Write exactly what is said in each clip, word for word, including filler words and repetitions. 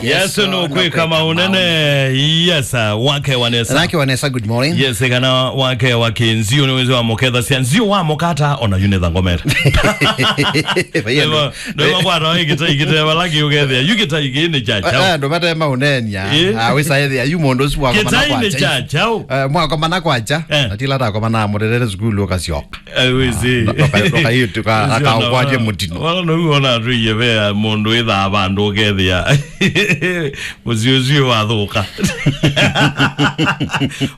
Yes, no kwĩka maũnene. Yes, uh, wake wa nesa. Nake wa nesa, good morning. Yes, kana wake wa kĩnzio nĩ wĩsĩ wa mũkethasya. Nzio wa mũkata, ona yu nĩ thangomera. Ndĩma, ndĩma kwata wa kĩtai kĩteva laki ũkethĩa. Yu kĩtai kĩ nĩ cha chao. Eh, ndũ mate maũnenia. Eh? Ah, wĩsa ethĩa, yu mũndũ ũsu wa kĩtai nĩ cha chao. Eh, mwakomana kwacha. Eh. Atila takomana mũtetete sukulu ũkasyoka. Eh, wĩsĩ. Ndũka-, ndũka-, ndũka-, akaũkwatie mũtino. Wala no wona andũ iye ve mũndũ ĩthaa vandũ ũkethĩa. Mũsyĩ ũsu wathũka.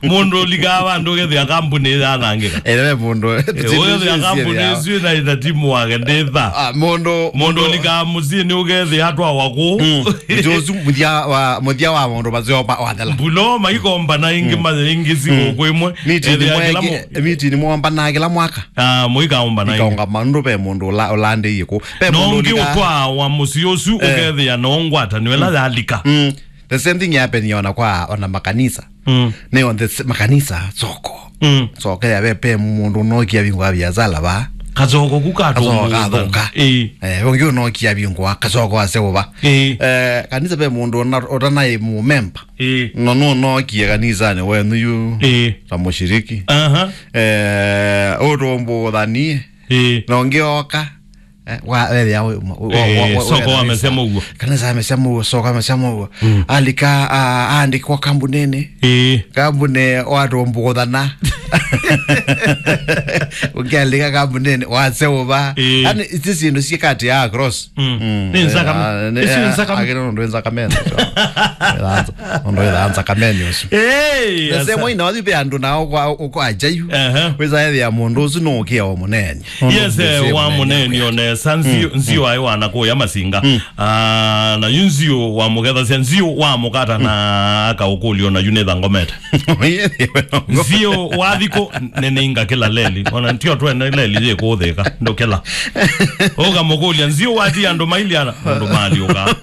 Mũndũ ũlikaa vandũ ũkethĩa kambuni yanangĩka. Ĩwe mũndũ, eh, ũkethĩa kambuni ĩsu ĩna ĩtatimu wake ndĩtha. Ah, mũndũ, mũndũ ũlikaa mũsyĩ nĩ ũkethĩa atwawa kũu. Mm. Mũsyĩ ũsu mũthya wa, mũthya wa mũndũ maseo ma-, wathela. Mbulo maikombana ingĩ, mm, ma-, ingĩ si gũkũ ĩmwe. Meeting ethĩa mwe-, kĩla mũ- meeting mwombana kĩla mwaka. Ah, mũikaũmba na ikaũngama nũndũ ve mũndũ ũla-, ũlandĩie kũ. Ve no mũndũ ũngĩ ũlika- ũtwaa wa mũsyĩ ũsu, eh, ũkethĩa no ngwatanĩo ĩla yalika. Mm. The same thing yapenia ona kwa, ona makanisa. Mm. Nĩ on the s-, makanisa soko. Mm. Soko ya ve, ve mũndũ ũnokia vingwa biasala va. Kasoko ku katũ kasoko kathũka. Ĩĩ. Eh, ũngĩ ũnokia vingwa kasoko ase ũva. Ĩĩ. Eh, kanisa ve mũndũ ũna-, ũtanaĩ mũmemba. Ĩĩ. No, no, nookie kanisanĩ wenyu yu. Ĩĩ. Ta mũshiriki. Aha. Eh, ũtũmbũthanie. Ĩĩ. Na ũngĩ oka. Eh, wa, wethĩa, we, we, eh, we, we, soko wamesema ũguo. Kanisa amesema ũguo, soko amesema ũguo. Mm. Alika, a, aandĩkwa kambunĩnĩ. Ĩĩ. Kambunĩ watũmbũthana. Ũkĩalika kambunĩnĩ, waseũva. Ĩĩ. Yaani, ici syĩndũ syĩkati ya cross. Mm. Mm. Nĩ nzakame. Ah, nĩ, ici nĩ, eh, nzakame. Akĩrĩ ũndũ wĩ nzakameni ũcio. Ĩthanza, ũndũ wĩ nzakameni ũcio. Ĩĩ, the same way, na wathiĩ ve andũ nao kwa, kwa ajayu. Aha. Wĩsa ethĩa mũndũ ũsu nũũkĩa o mũneeny'a. Yes, eh, wa mũneeny'a o nesa, nzio, mm, nzio aĩ wana kũya masinga. Mm. Ah, na yu nzio wa mũkethasya, nzio wa mũkata na akaũkũlyo na yu nĩ thangomete. Nzio wa thikũ nĩnĩinga kĩla leli. Ona tio twene leli yĩkũũthĩka. Ndũkĩla. Ũkamũkũlya, nzio wati andũ mailiana, andũ maliũka.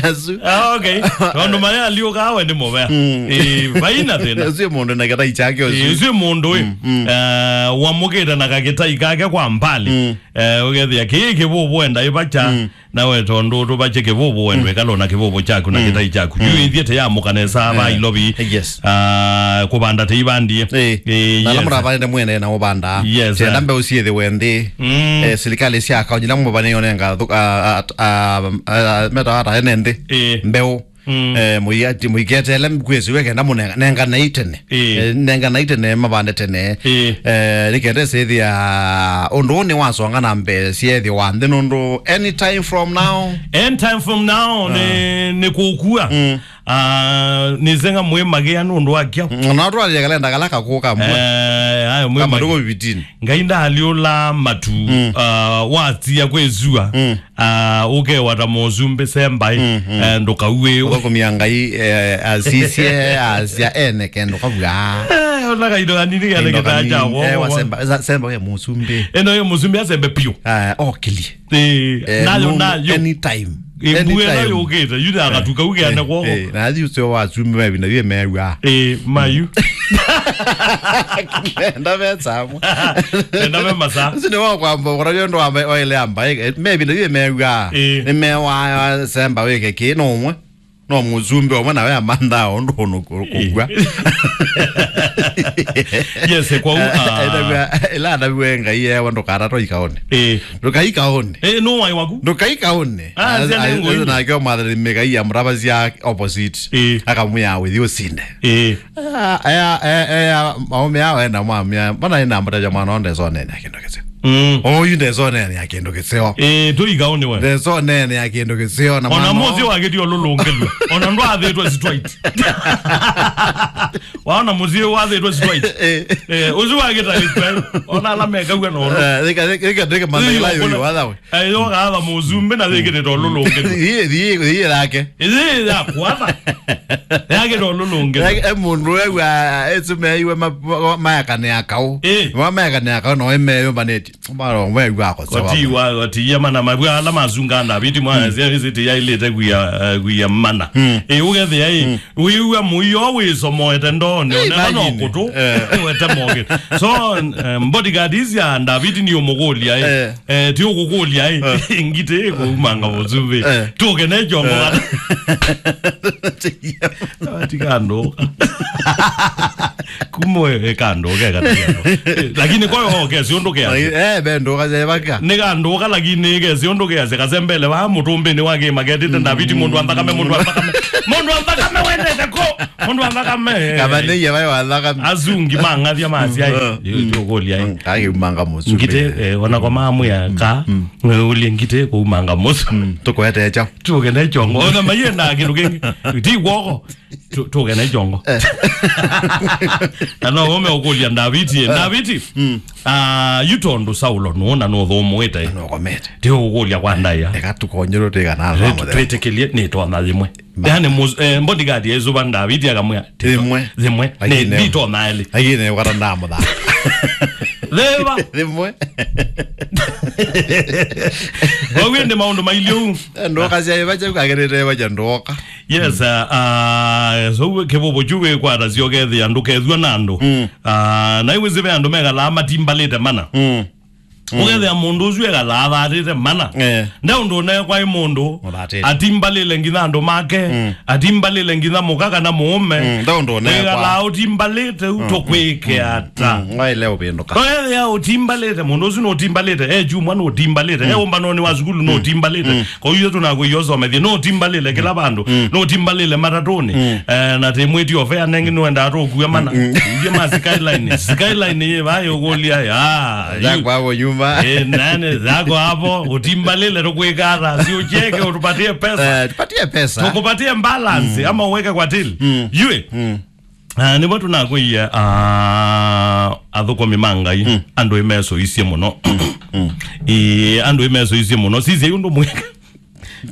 Asu. Ah, okay. Tondũ marĩa aliũka we nĩ mũvea. Mm. Eh, vaina thĩna. Ũsu mũndũ na kĩtai chake ũsu. Eh, ũsu mũndũ ĩ. Mm, mm. Eh, wamũkĩte na kakĩtai kake kwa mbali. Mm. Eh, ũgethĩa kĩĩ kĩvũvũ enda ĩvacha. Mm. Nawe tondũ tũvache kĩvũvũ wendwe, mm, kalo na kĩvũvũ chaku na, mm, kĩtai chaku. Mm. Yu ithiĩte ya mũkanesa va, eh, ilovi. Yes. Ah, kũvanda te ivandie. Eh. Eh, na ala, yes, mũravanĩte mwene na ũvanda. Yes, tenda, eh, mbeũ syĩthĩwe nthĩ. Mm. Eh, silikalĩ sya kaunti ila mũvanĩo nenga thũ-, a, a, a, a, metawa ata ene nthĩ. Eh. Mbeũ. Mm. Eh, mũiati-, mũiketele kwĩsiwe kenda mũnenga, nenganai tene. Ĩĩ. Eh, nenganai tene, mavande tene. Ĩĩ. Eh, nĩkenda ĩsĩthĩa ũndũ ũũ nĩwasonga na mbee syethĩwa nthĩ nũndũ anytime from now. Anytime from now, ah, nĩ, nĩ kũkua. Mm. Ah, nĩsenga mwĩ magĩa nũndũ wa kyaũ. Mm, na twalile kalenda kala kakũka mbua. Eh, ayo mwĩ kama magĩa. Tuko fifteen. Ngai ndaalyũla matu, mm, ah, watia kwĩsua. Mm. Ah, ũkewa ta mũsumbĩ sembaĩ, mm, mm, eh, ndũkauĩwe. Ũkakumia Ngai, eh, asisye, asya ene kendo kavua. Eh, ona kaindo kanini kene kĩtaa kya woko. Eh, wasemba, za-, semba we mũsumbĩ. Eno ye mũsumbĩ asembe piũ. Ah, okilie. Eh, eh, nayo, no, nayo. Anytime. Eh, anytime. Mbuya nayo ũkĩte, yu ya, eh, gatuka ũkĩane, eh, kwoko. Eh, na athi ũseo wa sumbĩ mavinda yue mewa. Eh, mayu. Nenda ve samwa. Nenda ve masa. Ũsu nĩ wa kwamba, ũkona nĩ ũndũ wa mbe-, wa ile amba, eh, me vinda yue mewa. Eh. Nĩ mewa semba wĩke kĩ, no ũmwe. No mũsumbĩ ũmwe nawe amanthaa ũndũ ũnũ kũ-, kũkua. Yes, kwa u-, ah. Ĩla anaviwe Ngai ewa ndũkatatwa ikaone. Eh. Ndũkaikaone. Eh, no wai waku? Ndũkaikaone. Ah, sia nĩ ngũi. Nake mwathani Mĩkai amũtavasya opposite. Eh. Akamwĩa wĩthi ũsinde. Eh. Ah, aya, aya, aya, maume ao enda mwamia, mbona ina mtaja mwana onde sonene ya kĩndũ kĩseo. Mm. Oyu nde sonene ya kĩndũ kĩseo. Eh, tu ikaone we. Nde sonene ya kĩndũ kĩseo na ona mwana mũzi wagĩtio lũlũngĩlwe. Ona ndwathĩtwe straight. Waona mũzi wathĩtwe straight. Eh. Eh, ũzi wagĩta straight. Ona ala mekagwa na ũndũ. Eh, reka, reka, reka, reka, mandela yo, yo, wathawe. Eh, yo gaatha mũsumbĩ na yĩkĩte tondũ lũngĩ. Thiĩ, thiĩ, thiĩ yake. Ĩĩ, ya kwatha. Yake tondũ lũngĩ. Yake, e mũndũ we wa, ĩsu meiwe ma-, ma-, maekane akaũ. Ĩĩ. Ma maekane akaũ, no ĩmeyũmbanĩtye. Mara wewa ko sawa. Koti wa, koti ya mana mavua ala masunga Ndaviti mwana sia isi ti yailite kuya, eh, kuya mana. Ĩ, ũkethĩa ĩ, wĩw'a mũio wĩsomoete ndoonĩ, ona no kũtũ, wete moke. So, eh, bodyguard isi ya Ndaviti nĩ ũmũkũlya ĩ. Eh, ti ũkũkũlya ĩ. Ngitĩ ĩ kũumanga mũsumbĩ. Tũke ne kyongo. Ati kandũ. Kumwe kandũ ke kata. Lakini kwa hiyo ke si ũndũ ke. Eh, bendo kaje baka. Nĩ kandũ ka, lakini ke si ũndũ ke se kasembele wa mũtũmbĩ nĩ wa kĩma ketĩte Ndaviti mũndũ wa nthakame, mũndũ wa nthakame. Mũndũ wa nthakame wendete ko. Mũndũ wa nthakame. Kama nĩ ya wa nthakame. Asungi mang'athia masia. Yo kũlya. Kage umanga mũsu. Ngitĩ, eh, ona kwa mamwe ya ka. Ũlye ngitĩ kũumanga mũsu. Tũkwete cha. Tũke ne kyongo. Ona maiye na kĩndũ kĩngĩ. Ti kwoko. Tu-, tũke na ikyongo. Na no ũme ũkũlya Ndaviti, eh, Ndaviti. Ah, yu tondũ Saulo nũũ na nũthũmũĩte. Nũkomete. Ti ũkũlya kwa ndaĩa. Eka tũkonyerwo twĩkana. Twĩtĩkĩlye nĩ twana yĩmwe. Yaani, bodyguard yesuva Ndaviti akamwĩa, "Yĩmwe. Yĩmwe. Nĩ ndito na elĩ." Agine kwata ndamũtha. Thĩva. Yĩmwe. Wawende maũndũ mailyo. Ndoka sya ivacha ukagerete vacha ndoka. Yes, uh, uh, so kĩvũvũ kyu wĩkwata syokethĩa ndũkethw'a na andũ. Uh, na iwĩsĩ ve andũ mekalaa matimbalĩte mana. Ũkethĩa mũndũ ũsu ekalaa athatĩte mana. Eh. Nde ũndũ ũnekwa ĩ mũndũ atimbalĩle nginya andũ make, atimbalĩle nginya mũka kana mũũme. Wĩkalaa ũtimbalĩte u tũkwĩke ata? Waile ũvĩndũka. Wethĩa ũtimbalĩte, mũndũ ũsu nũtimbalĩte, e kyumwa nũtimbalĩte, e ũmbanonĩ wa sukulu nũtimbalĩte. Kwa hiyo tũnakwĩia ũsomethie, nũtimbalĩle kĩla vandũ, nũtimbalĩle matatũnĩ. Eh, na tĩ mwĩti ofea nengi nũendaa tũkue mana. Ithyĩ ma Skyline. Skyline yĩ vaa yũkũlya ya. Zako hapo nyuma. Eh, nani zako hapo, ũtimbalĩle tũkwĩka ata? Si ucheke, ũtupatie pesa. Eh, tupatie pesa. Tũkupatie balance, ama uweke kwa till. Yue. Ah, nĩvo tũnakwĩie, ah, athũkũmi ma Ngai, andũ ĩmesũisye mũno. Ĩ, andũ ĩmesũisye mũno. Sisye ũndũ mwĩka.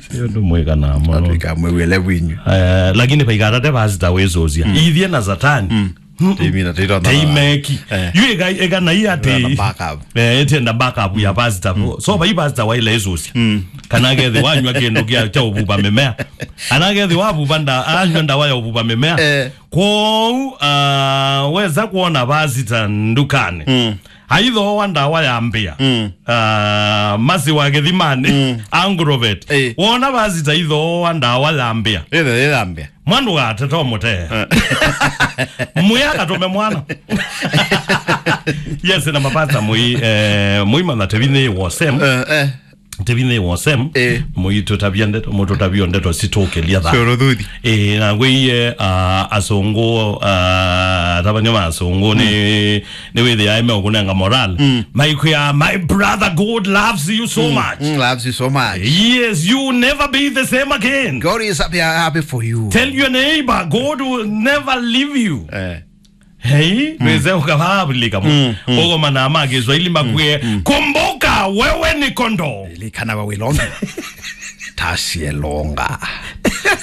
Sisye ũndũ mwĩkanaa mũno. Atwĩka mwĩw'ele winyu. Eh, lakini vaikatate pasita wĩsũsya. Ithyĩ na Satani. Teimina, teitona. Teimeki. Eh. Yu ĩka, ĩka na iya te. Ĩtenda backup. Eh, ĩtenda backup ya pasita. So, vai pasita waile ĩsũsya. Kana kethi wanywa kĩndũ kya, kya ũvuva mĩmea. Ana kethi wavuva nda, anywa ndawa ya ũvuva mĩmea. Eh. Kwoou, ah, wesa kwona vasita ndukanĩ. Aithooa ndawa ya mbĩa. Ah, masi wa kĩthimanĩ. Agrovet. Eh. Wona vasita ithooa ndawa ya mbĩa. Ĩthe, ĩthe ya mbĩa. Mwana ũgateta ũmũtee. Mwĩa akatũme mwana. Yes, na mapasta mũi, eh, mũi mana tevinĩ wosem. Eh, eh. Tevinĩ wosem. Eh. Mũitũtavya ndeto, mũtũtavyo ndeto sitũkĩlya tha. Sio rũthuthi. Eh, na ngwĩie, ah, asũngũ, ah, atavany'a ma asũngũ nĩ, nĩ wĩthĩae meũkũnenga moral. Maikwĩa, "My brother, God loves you so much." Mm, loves you so much. Yes, you will never be the same again. God is happy, happy for you. Tell your neighbor, God will never leave you. Eh. Hei, wĩse ũkavavulĩka mo. Ũgoma na ma Kiswahili makwĩe, "Kumbuka wewe ni kondoo." Lilikana wewe ni kondoo. Tasielonga.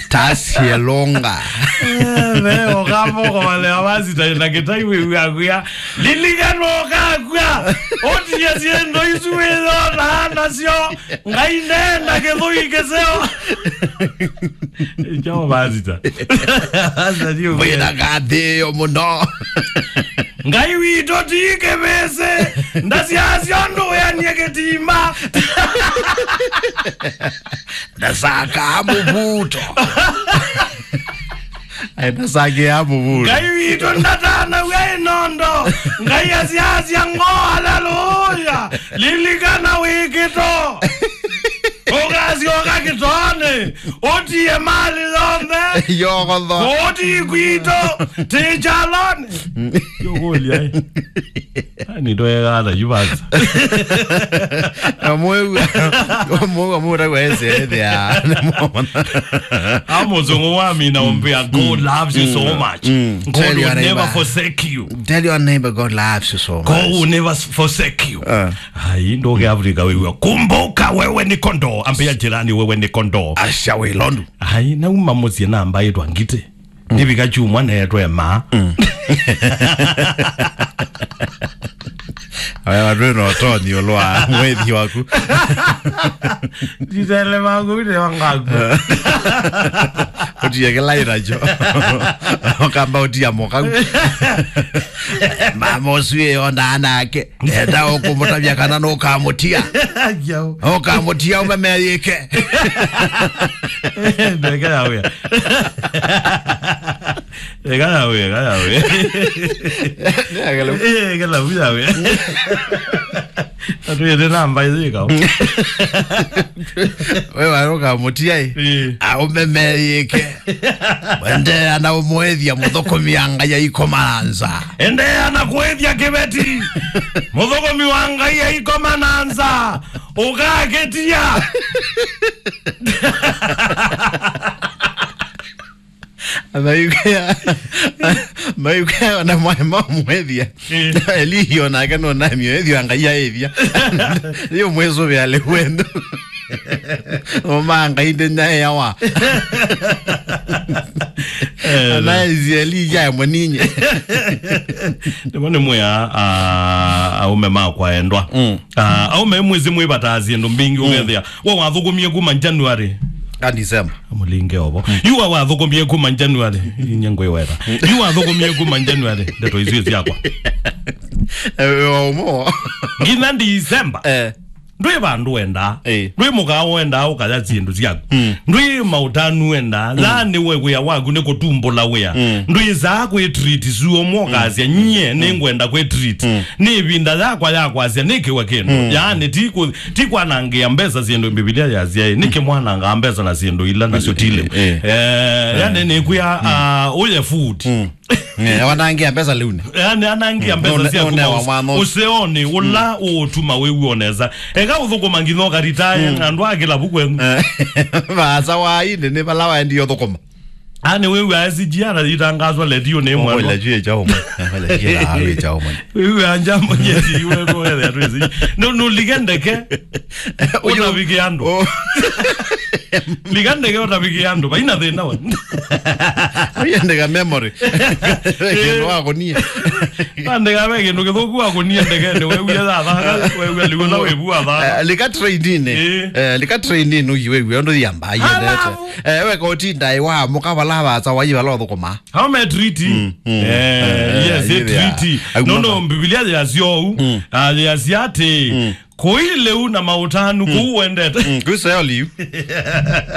Tasielonga. Eh, ve, ũkamba ũkomalea vasita na kĩtai wĩw'a kwĩa, "Lilikana ũkakw'a. Ũtie syĩndũ isu wĩyonaa nasyo. Ngai ndenda kĩthũi kĩseo." Chao pasita. Pasita ndio. Mwĩna ngathĩĩo mũno. Ngai witũ ti kĩvĩsĩ, ndasyaasya ũndũ wĩanie kĩtima. Ndasaka mũvuto. Ai, ndasakĩa mũvuto. Ngai witũ ndatanaw'a ĩnondo. Ngai asyaasya ngoo, haleluya. Lilikana wĩkĩto. Ũkasyoka kĩtonĩ, ũtie mali yonthe. Yokotho. Kũũti kwitũ, ti kyalonĩ. Yũkũlya, eh. Ani ndoegana yu basi. Na mwĩw'a, mwĩw'a mũndũ agwa ese ethĩa. Amũzũngũ wa mina ũmbĩa, "God loves you so much. God will never forsake you." Tell your neighbor, "God loves you so much." God will never forsake you. Ai, ndũke Afrika wĩw'a. "Kumbuka wewe ni kondoo." Ambia jirani, "Wewe ni kondoo." Asya wĩlondu. Ai, nauma mũsyĩ na mbaĩtwa ngitĩ. Nĩvika kyumwa neetwe maa. Aya, andũ ĩno toni ũlwa mwĩthi waku. Nditele mangu ine wangaku. Ũtie kĩla ĩnacho. Ũkamba ũtia mũkau. Mama ũsu ĩyo ndanake. Enda ũkũmũtavya kana nũkamũtia. Ngiau. Ũkamũtia ũmeme yĩke. Ndeke ya wĩa. Eka ya wĩa, eka ya wĩa. Nĩ agelu. Eh, eka la wĩa wĩa. Atwĩte namba ĩthĩka. We warũka mũtia ĩ. Eh. Aũmeme yĩke. Endeea na ũmwĩthya mũthũkũmi wa Ngai aikoma na nza. Endeea na kwĩthya kĩveti. Mũthũkũmi wa Ngai aikoma na nza. Ũkakĩtia. Maikaya, maikaya na mwae mamwĩthya. Eh. Eliyo nake nũnamio ĩthyo Ngai aĩthya. Yo mwĩsũvĩa lĩwendo. Ũma Ngai ndĩnyaĩawa. Eh, na Isieli yae mũninye. Nĩmo nĩ mwĩa, ah, aume makwa endwa. Mm. Ah, aume mwĩsĩ mwĩvataa syĩndũ mbingĩ. Mm. Ũkethĩa. We wathũkũmie kuma January. Ka December. Mũlinge ovo. Mm. Yu we wathũkũmie kuma January. Inye ngwĩweta. Yu wathũkũmie kuma January. Ndeto isu syakwa. Eh, wa ũmo. Nginya December. Eh. Ndwĩ vandũ wendaa. Eh. Ndwĩ mũkawa wendaa ũkaya syĩndũ syaku. Mm. Ndwĩ maũtanu wendaa. Mm. Yaani we wĩa waku nĩ kũtumbũla wĩa. Mm. Ndwĩsaa kwĩ treat suo mokasya, mm, nyie, mm, nĩngwenda kwĩ treat. Mm. Nĩ ĩvinda yakwa ya kwasya nĩkĩwe kĩndũ. Mm. Yaani ti kũ-, ti kwanangĩa mbesa syĩndũ Mbivilia yasya, ĩ, nĩkĩ mwanangaa mbesa na syĩndũ ila nasyo ti lĩu. Eh. Eh, yaani nĩkwĩa, mm, ah, ũye food. Mm. Eh, wanangia mbesa lĩu nĩ. Yaani anangia, mm, mbesa, none-, syaku none wa maũs-, mwana ũsu. Ũseonĩ, ũla, mm, ũũtuma wĩw'e o nesa. Eka ũthũkũma nginya ũkaritaya, mm, na andũ a kĩlavu kwenu. Eh, vaasa wa ĩndĩ nĩ vala waendie ũthũkũma. Ani wĩw'e S G R itangazwa ledio nĩ mwendwa. Okwela juu ya chao mwana. Okwela juu ya chao mwana. Wĩw'e njambo nyeti iwe ko ya twezi. No, no, lika ndeke. Ũtavike andũ. Oh. Lika ndeke ũtavike andũ. Vaina thĩna we. Ũyendeka memory. Kĩndũ wa kũnia. Andeka ve kĩndũ kĩthũku wa kũnia ndeke, nĩ wewe ya thaka, wewe liwe na wewe wa thaka. Eh, lika train-inĩ. Eh. Eh, lika train-inĩ ũyi wewe, ũndũ yamba, yendete. Alafu. Eh, we koti ndai wa mũka vala vaasa wa ivala ũthũkũma. How me treat? Mm, mm. Eh, eh, yes, eh, treat. Ai, no, no, mama. Biblia ya sio. Mm. Ah, ya siate. Mm. Kũi lĩu na maũtanu, mm, kũu wendete. Mm, kũi Seoli yu.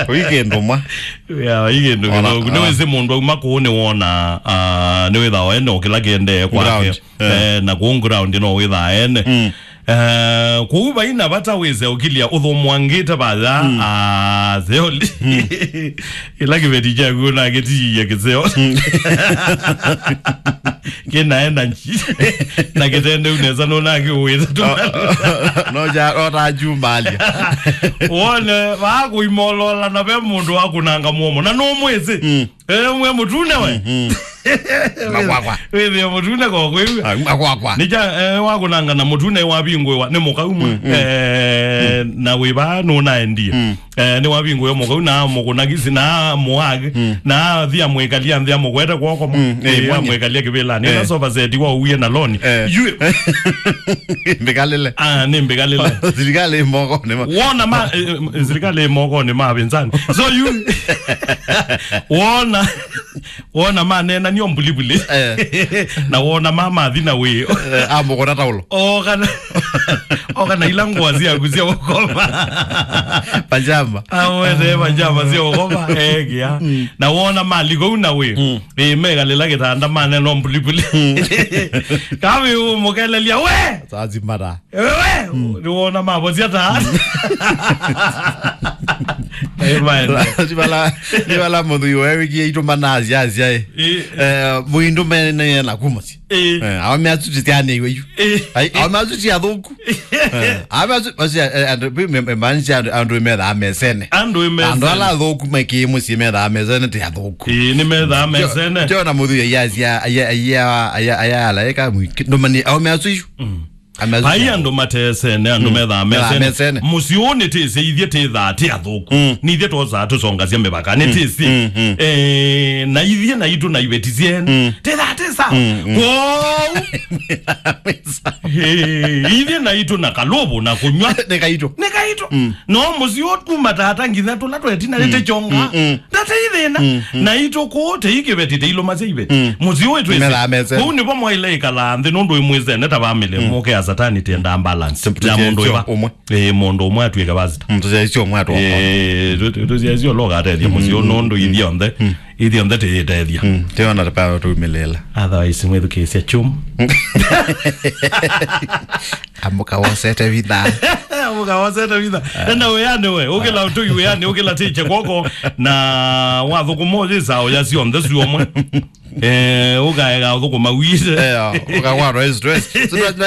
Kũi kĩndũ mwa. Ya, ĩ kĩndũ kĩthũku. Ona, ah. Nĩwĩsĩ mũndũ auma kũu nĩwona, ah, nĩwĩthaa ene o kĩla kĩendee kwake. Ground. Eh. Eh, na kũu ground no wĩthaa ene. Mm. Eh, kũu vaina vata wĩse ũkilya ũthũmwangĩte vaya, mm, ah, Seoli. Mm. Ĩla kĩveti kyaku nakĩtiie kĩseo. Mm. Kĩna energy. Na kĩtendeu nesa nũnakĩũĩte tu. No ja, no ta jumbalia. Wone, vakũimolola na ve mũndũ wa kũnanga mũomo. Na nũmwĩsĩ. Mm. Eh, mwe mũtune we. Mm, mm. Makwakwa. Wĩthĩe mũtune kwa kwĩw'a. Ah, makwakwa. Nĩkya, eh, wa kũnanga na mũtune wavingũĩwa nĩ mũkau mwe. Mm, mm. Eh, mm. Na wĩva nũnaendie. Mm. Eh, nĩ wavingũĩwa mũkau na mũkũnagisi na mũage. Mm. Na thia mwĩkalia nthia mũkwete kwoko mwe. Mm, eh, mwe mwĩkalia kĩvĩlanĩ. Eh. Na sofa set wa uwie na loni. Eh. Yu. Mbĩkalĩle. Ah, nĩ mbĩkalĩle. Sirikali moko nĩ ma- Wona ma, eh, eh, sirikali moko nĩ ma pinzani. So you, wona, wona manena nio mbulibuli. Eh. Na wona mama thina wĩ. Eh, amũkũna taulo. O kana, o kana ila ngũa syaku sya ũkoma. Pajama. Awete pajama sya ũkoma, eh, kia. Mm. Na wona maliko una wĩ. Mm. Eh, mekalila kitanda manena mbulibuli. Mm. Kavi umukelelia we. Sazimara. Ewe, mm, nĩwona mavosia ta. Amen. Nĩ vala, nĩ vala mũthũi wewe kie itũmana asya asya, eh. Eh. Eh, mũindũ mene na kuma si. Eh. Eh, awa mea suti tiane iwe yu. Eh. Ai, awa mea suti athũku. Eh, awa mea suti, osia, eh, andũ, bi, me, me, manisi andũ, andũ methaa mesene. Andũ mesene. Andũ ala athũku meki mũciĩ methaa mesene ti athũku. Eh, nĩ methaa mesene. Tio na mũthũi ya asya, aya, aya, aya, aya, ala eka mwiki. Ndũmani, awa mea suti. Mm. Vai andũ matesene, andũ methaa mesene. Mũsyĩ ũũ nĩtĩsĩ ithyĩ tĩthaa tĩ athũku. Nĩ ithyĩ twosaa tũsongasya mĩvaka. Nĩtĩsĩ. Eh, na ithyĩ naitũ na iveti syene. Tĩthaa tĩsa. Kwoou. Eh, ithyĩ naitũ na kalũvũ na kũnyw'a. Nĩ kaitũ. Nĩ kaitũ. No mũsyĩ ũũ kuma tata nginya tũla twetina nĩtĩkyonga. Ndate ithĩna. Naitũ kũũ tĩi kĩveti tĩilũmasya iveti. Mũsyĩ ũũ ĩtwĩsĩ. Kũu nĩvo mwaile ĩkalaa nthĩ nũndũ ĩmwĩsene ta vamĩlĩ. Mũke ya satani tĩendaa balance. Ya mũndũ ĩva. Ĩĩ, mũndũ ũmwe atuĩke vasita. Tũsyaisyo ũmwe atwa. Ĩĩ, tũsyaisyo logatethya mũsyĩ ũũ nũndũ ithyonthe. Ithyonthe tĩyĩtethya. Tĩona tapaa tũmĩlĩla. Otherwise mwĩthukĩĩsya chum. Amũka wosete vitha. Amũka wosete vitha. Enda wĩanĩ we, ũkĩla ũtũi wĩanĩ, ũkĩla tĩkye kwoko, na wathũkũma ũyĩsaa ũya syonthe syũmwe. Eh, ũkaega ũthũkũma wĩse. Eh, ũkakwatwa stress.